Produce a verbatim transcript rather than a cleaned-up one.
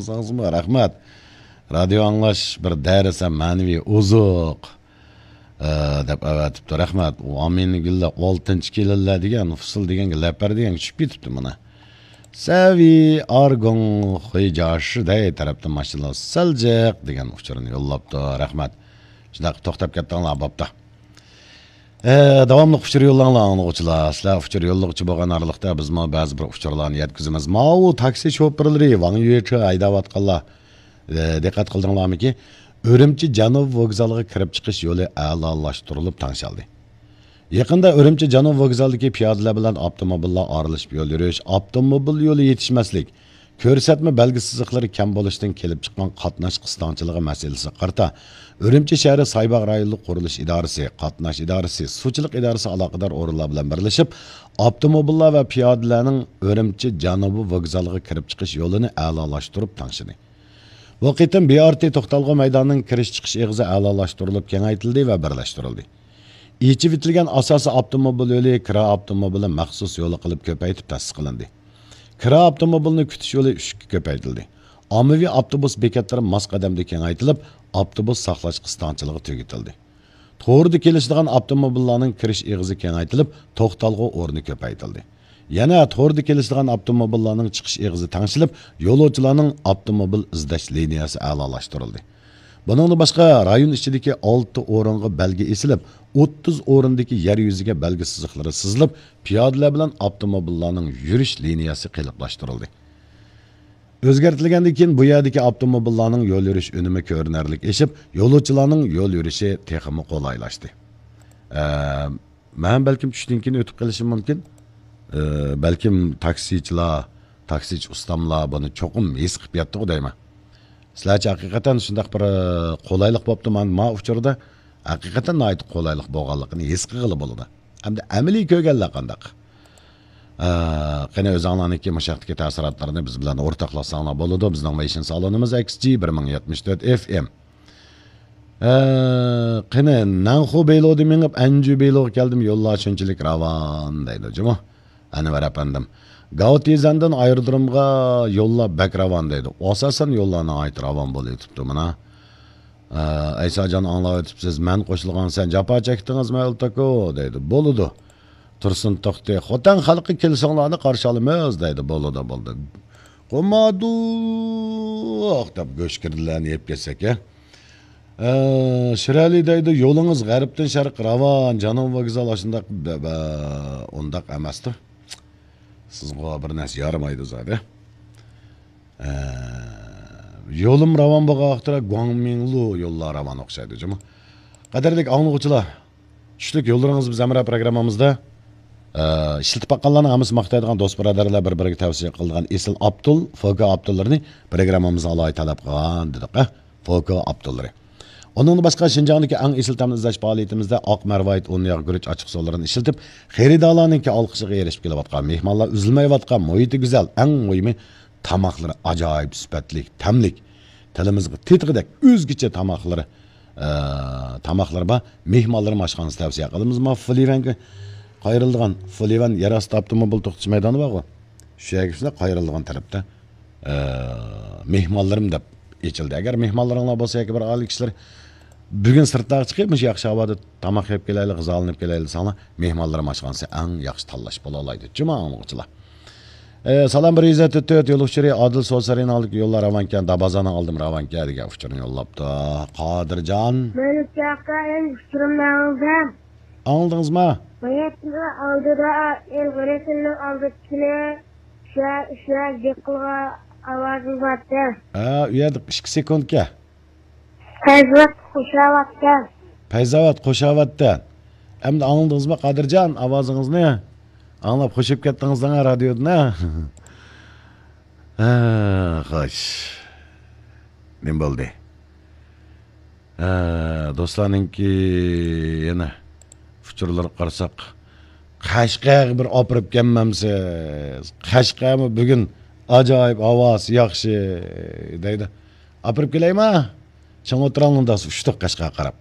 ساڭزمۇ رەھمەت. رادىيو ئاڭلاش بىر دەرس ھەم مەنىۋى ئوزۇق، ئە، دەپ ئەۋەتىپتۇ. رەھمەت. ئۇ ئامىنگۈللە ئالتىنچى كېلىنلەر دېگەن، فۇسۇل دېگەنگە، لەپەر دېگەنگە چۈشۈپ كېتىپتۇ مانا. سەۋى ئارگوڭ خۇيجاش دەي تەرەپتىن ماشىنىلار سەل جىق دېگەن ئۇچۇرنى يوللاپتۇ. رەھمەت. شۇنداق توختاپ كەتتىڭلار، بوپتۇ. ئە، داۋاملىق ئۇچۇر يوللاڭلار، ئاڭلىغۇچىلار. سىلەر ئۇچۇر يوللىغۇچى بولغان ئارىلىقتا بىزمۇ بەزى بىر ئۇچۇرلارنى يەتكۈزىمىز. ماۋۇ تاكسى شوپۇرلىرى ۋاڭ يۈچى ھەيدەۋاتقانلار، ئە، دىققەت قىلدىڭلارمىكى؟ ئۈرۈمچى جەنۇب ۋوگزالىغا كىرىپ چىقىش يولى ئەلالاشتۇرۇلۇپ تەڭشەلدى. يېقىندا ئۈرۈمچى جەنۇب ۋوگزالىدىكى پىيادىلەر بىلەن ئاپتوموبىللار ئارىلىشىپ يول يۈرۈش، ئاپتوموبىل يولى يېتىشمەسلىك، كۆرسەتمە بەلگە سىزىقلىرى كەم بولۇشتىن كېلىپ چىققان قاتناش قىستاڭچىلىقى مەسىلىسىگە قارىتا، ئۈرۈمچى شەھىرى سايباغ رايونلۇق قۇرۇلۇش ئىدارىسى، قاتناش ئىدارىسى، سۇچىلىق ئىدارىسى ئالاقىدار ئورۇنلار بىلەن بىرلىشىپ، ئاپتوموبىللار ۋە پىيادىلەرنىڭ ئۈرۈمچى جەنۇبىي ۋوگزالىغا كىرىپ چىقىش يولىنى ئەلالاشتۇرۇپ تەڭشىدى. بۇ قېتىم بى ئار تى توختالغۇ مەيدانىنىڭ كىرىش چىقىش ئېغىزى ئەلالاشتۇرۇلۇپ كېڭەيتىلدى ۋە بىرلەشتۈرۈلدى. ئېچىۋېتىلگەن ئاساسىي ئاپتوموبىل يولى كىرا ئاپتوموبىلى مەخسۇس يولى قىلىپ كۆپەيتىپ تەسىس قىلىندى. كىرا ئاپتوموبىلىنى كۈتۈش يولى ئۈچكە كۆپەيتىلدى. ئاممىۋى ئاپتوبۇس بېكەتلىرى ماس قەدەمدە كېڭەيتىلىپ، ئاپتوبۇس ساقلاش قىستاڭچىلىقى تۈگىتىلدى. توردا كېلىشىدىغان ئاپتوموبىللارنىڭ كىرىش ئېغىزى كېڭەيتىلىپ، توختالغۇ ئورنى كۆپەيتىلدى. يەنە توردا كېلىشىدىغان ئاپتوموبىللارنىڭ چىقىش ئېغىزى تەڭشىلىپ، يولۇچىلارنىڭ ئاپتوموبىل ئىزدەش لىنىيەسى ئەلالاشتۇرۇلدى. بۇنىڭدىن باشقا، رايون ئىچىدىكى ئالتە ئورۇنغا بەلگە ئېسىلىپ، ئوتتۇز ئورۇندىكى يەر يۈزىگە بەلگە سىزىقلىرى سىزىلىپ، پىيادىلەر بىلەن ئاپتوموبىللارنىڭ يۈرۈش لىنىيەسى قېلىپلاشتۇرۇلدى. ئۆزگەرتىلگەندىن كېيىن بۇ يەردىكى ئاپتوموبىللارنىڭ يول يۈرۈش ئۈنۈمى كۆرۈنەرلىك ئېشىپ، يولۇچىلارنىڭ يول يۈرۈشى تېخىمۇ قولايلاشتى. ئە، مەن بەلكىم چۈشتىن كېيىن ئۆتۈپ قېلىشىم مۇمكىن. ئە، بەلكىم تاكسىچىلار، تاكسىچى ئۇستاملار بۇنى چوقۇم ھېس قىلىپ يەتتىغۇ دەيمەن. سىلەرچە ھەقىقەتەن شۇنداق بىر، ئە، قولايلىق بوپتۇ مانا ما ئۇچۇردا؟ ھەقىقەتەن ناھايىتى قولايلىق بولغانلىقىنى ھېس قىلغىلى بولىدۇ. ئەمدى ئەمەلىي كۆرگەنلەر قانداق؟ ئە، قېنى ئۆزۈڭلارنىڭكى مۇشۇ ھەقتىكى تەسىراتلىرىنى بىز بىلەن ئورتاقلاشساڭلار بولىدۇ. بىزنىڭ مەيشىن سالونىمىز ئېكس جى بىر مىڭ يەتمىش تۆت ئېف ئېم. ئە، قېنى، نەنخۇ بېيلۇدىن مېڭىپ ئەنجۈ بېيلۇغا كەلدىم، يوللار شۇنچىلىك راۋان دەيدۇ جۇمۇ. ئەنۋەر ئەپەندىم، گاۋتىزەندىن ئايرودرومغا يوللار بەك راۋان دەيدۇ. ئاساسەن يوللار ناھايىتى راۋان بولۇۋېتىپتۇ مانا. ئە، ئەيساجان ئاڭلاۋېتىپسىز، مەن قوشۇلغان سەن جاپا چەكتىڭىزمۇ ئەلتاكو دەيدۇ. بولىدۇ. تۇرسۇن توختى، خوتەن خەلقى كېلىشىڭلارنى قارشى ئالىمىز دەيدۇ. بولىدۇ، بولدى. قومادۇق دەپ گۆشكىردىلەرنى يەپ كەتسەك، ھە. ئە، شىرئەلى دەيدۇ، يولىڭىز غەربتىن شەرققە راۋان، جانان ۋوگزال ئاشۇنداق بە-، بە-، ئۇنداق ئەمەستۇ. سىزغۇ بىر نەرسە يارىمايدۇ زادى. ئە، يولۇم راۋان بولغان ۋاقىتتا گۇاڭمىڭلۇ يوللار راۋان ئوخشايدۇ جۇمۇ. قەدىرلىك ئاڭلىغۇچىلار، چۈشلۈك يوللىرىڭىز بىز ھەمراھ پروگراممىمىزدا، ئە، ئىشلىتىپ باققانلارنىڭ ھەممىسى ماختايدىغان دوست بۇرادەرلەر بىر-بىرىگە تەۋسىيە قىلىدىغان ئېسىل ئاپتول، فوكا ئاپتوللىرىنى پروگراممىمىزغا ئالاھىدە تەلەپ قىلغان دېدۇق، ھە؟ فوكا ئاپتوللىرى. ئۇنىڭدىن باشقا شىنجاڭدىكى ئەڭ ئېسىل تەمنى ئىزدەش پائالىيىتىمىزدە ئاق مەرۋايىت ئون ياغ گۈرۈچ ئاچچىقسۇلىرىنى ئىشلىتىپ، خېرىدارلارنىڭكى ئالقىشىغا ئېرىشىپ كېلىۋاتقان مېھمانلار ئۈزۈلمەيۋاتقان مۇھىتى گۈزەل، ئەڭ مۇھىمى تاماقلىرى ئاجايىپ سۈپەتلىك، تەملىك، تىلىمىزغا تېتىغۇدەك ئۆزگىچە تاماقلىرى، ئە، تاماقلىرى بار مېھمانلىرىم ئاشخانىسى تەۋسىيە قىلىمىز. ما فۇلىۋەنگە قايرىلىدىغان، فۇلىۋەن يەر ئاستى ئاپتوموبىل توختىتىش مەيدانى بارغۇ، شۇ يەرگە شۇنداق قايرىلىدىغان تەرەپتە، ئە، مېھمانلىرىم دەپ ئېچىلدى. ئەگەر مېھمانلىرىڭلار بولسا ياكى بىر ئائىلە كىشىلىرى بۈگۈن سىرتتاغا چىقىپ، مۇشۇ ياخشى ھاۋادا تاماق يەپ كېلەيلى، غىزالىنىپ كېلەيلى دېسەڭلار، مېھمانلىرىم ئاشخانىسى ئەڭ ياخشى تاللاش بولالايدۇ. جۇما ئاڭلىغۇچىلار. ئە، سالام، بىر يۈز ئەتتە تۆت، يول ئۇچۇرى ئادىل سوسارىنىڭ ئالدىدىكى يوللار راۋانكەن، دابازانىڭ ئالدىمۇ راۋانكەن دېگەن ئۇچۇرنى يوللاپتۇ. قادىرجان. مەن ئۇچاققا ئەڭ ئۇچۇرۇمنى ئاڭلىدىم. ئاڭلىدىڭىزمۇ؟ باياتنىڭ ئالدىدا ئېلغىرىسىنىڭ ئالدىدىكىنى شۇ، شۇ جىقىلغا ئاۋازىڭ بارتى. ھە، ئۇ يەردە ئىككى سېكۇنتكە. پەيزاۋات خۇشاۋاتتى. پەيزاۋات خۇشاۋاتتى. ئەمدى ئاڭلىدىڭىزمۇ قادىرجان ئاۋازىڭىزنى؟ ئاڭلاپ خۇشۇپ كەتتىڭىز دەڭە رادىيودىن، ھە؟ ھە، خوش. نېمە بولدى؟ ھە، دوستلارنىڭكى يەنە ئۇچۇرلىرىغا قارىساق، قەشقەرگە بىر ئاپىرىپ كەلمەمسىز؟ قەشقەرمۇ بۈگۈن ئاجايىپ ھاۋاسى ياخشى دەيدۇ. ئاپىرىپ كېلەيمۇ؟ چىڭ ئولتۇراڭلار داس، ئۇچتۇق قەشقەرگە قاراپ.